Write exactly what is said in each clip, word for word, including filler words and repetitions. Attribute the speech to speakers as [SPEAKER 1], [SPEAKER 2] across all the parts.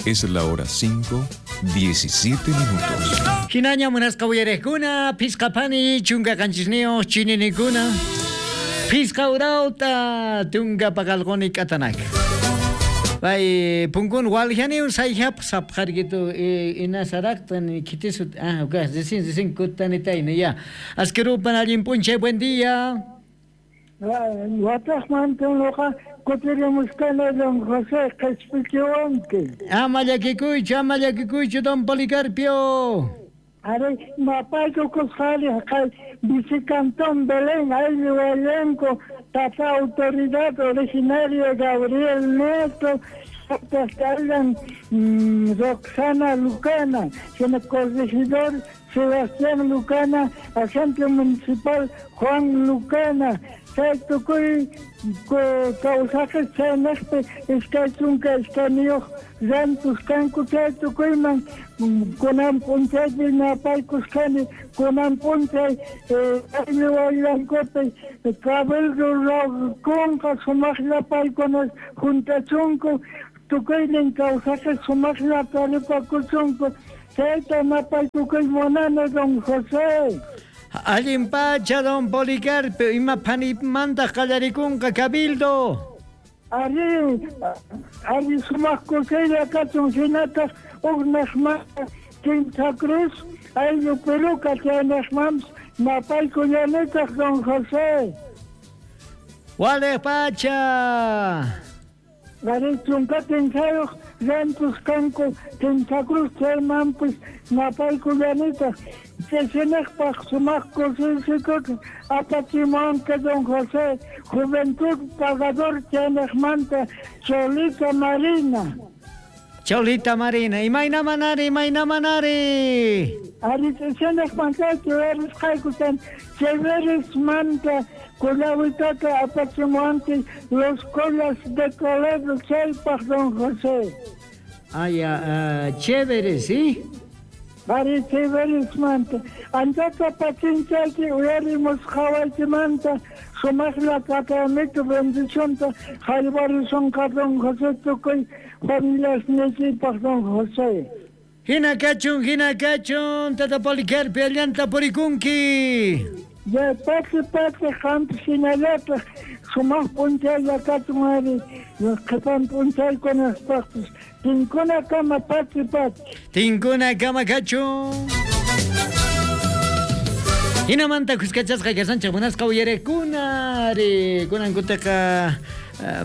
[SPEAKER 1] Es la hora cinco, diecisiete minutos.
[SPEAKER 2] Hinaña munasqa uyariqkuna, phisqa phani chunka qanchisniyuq chininikuna. Phisqa urawta tunka paqalquni k'atanaka. Pay punkun waljaniun sayhap sapqarkitu inasarakta ni kitisut ah okay recién recién kutanitayna ya. Askerupan allin p'unchay, buen día.
[SPEAKER 3] Wataqmanta nuqa kutirimushkani don José qhispichiwanki.
[SPEAKER 2] Ama llakikuychu, ama llakikuychu don Policarpio.
[SPEAKER 3] Ari mapaykukusqani kay Vicecantón Belén ayllu elenco tata autoridad originaria Gabriel Nieto Allan Roxana Lucana, sino corregidor Sebastián Lucana, agente municipal Juan Lucana, chay tukuy kawsaqes chaynaqpi iskay chunka iskayniyuq rantus kanku chay tukuyman kunan p'unchaypi napaykusqani kunan p'unchay ayllu wayllankupi cabildo ruwakunqa sumaqlla paykuna juntachunku tukuynin kawsaqes sumaqlla taripakuchunku chayta napaykukuy munani don José.
[SPEAKER 2] Allin pacha don Policarpio, ima phanimanta qallarikunqa cabildo.
[SPEAKER 3] Ari, ari sumaq kusiylla kachun hinataq uqnaqmanta Quinta Cruz ayllu Peruca chaynaqmanpis napaykullanitaq don José.
[SPEAKER 2] Waliq pacha.
[SPEAKER 3] Ari chunka kinsayuq rantus kanku Quinta Cruz chaymanpis napaykullanitaq Chesinaqpaq sumaq kusiysikut apachimuwanqa don José Juventud Pagador chaynaqmanta Cholita Marina.
[SPEAKER 2] Cholita Marina, imayna manari, imayna manari.
[SPEAKER 3] Ari chesinaqmanta chuyarisqayku Cheveresmanta kullawitata apachimuwanki los colas de Toledo chaypaq don José.
[SPEAKER 2] Ah, ya, uh, chévere, ¿sí?
[SPEAKER 3] Ari Cheveresmanta. Anchata pachinchayki uyarimusqawaykimanta sumaqlla tratamiento bendicionta jaywarisonqa don José tukuy familiasniykipaq don José.
[SPEAKER 2] Hina kachun, hina kachun, tata Policarpio allanta purikunki.
[SPEAKER 3] Ya pati pati qanpis hinallataq sumaq p'unchaylla kachun ari qhipan p'unchaykunapaqpis tinkuna kama pati pati.
[SPEAKER 2] Tinkuna kama kachun. Hinamanta kuskachasqa kasanchik munasqa uyariqkuna ari kunankutaqa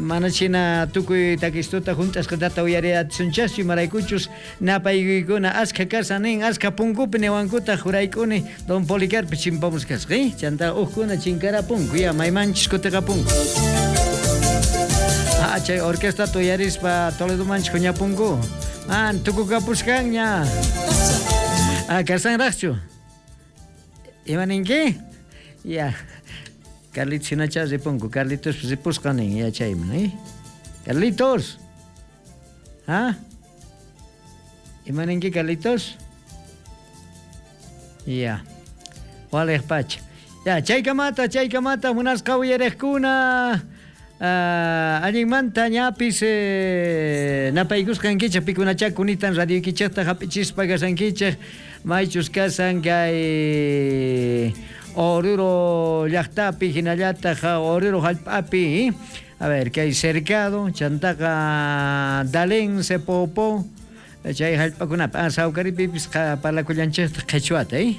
[SPEAKER 2] mana china tukuy takistuta junt'asqatata uyariasunchaschu imaraykuchus napaykuykuna askha kasan nin askha punkupi niwankuta juraykuni don Policarpio chimpamus kasqa eh? Chanta uqkuna chinkarapunku ya maymanchis kutiqapunku. Ah, chay orquesta uyarispa Toledomanchis huñapunku. Ah, tukukapusqanña. Ah, kasanraqchu. Ima ninki? Ya. Carlitos hinacha ripunku. Carlitos ripusqa nin yachayman, eh? Carlitos. ¿Ah? Ima ninki Carlitos? Ya. Waliq pacha. Ya, chaykamata, chaykamata munasqa uyariqkuna. Uh, allinmanta ñapis eh, napaykusqankichik pikunachá kunitan radioykichikta hap'ichispa kasankichik maychus kasan kay Oruro llaqtapi hinallataq Oruro hallp'api. A ver, kay Cercado, chantaqa Dalén, Sepopo, chay hallp'akunapi. Ah, Sawkaripipis parlakullanchikta qhichwata, eh?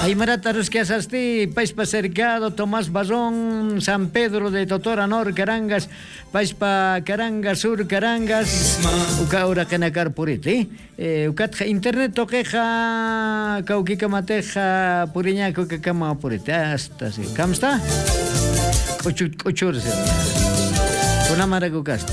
[SPEAKER 2] Aymarata Rusquiasasti, Paispa Cercado, Tomás Barrón, San Pedro de Totora Nor, Carangas, Paispa Carangas, Sur Carangas, Uka Uraquenacar Puriti, eh? Ukatja Internet toqueja, Cauquicamateja, Puriñaco, Cacama Puriti, hasta así. ¿Cómo está? Cochur, cochur, kunamaraku kasta.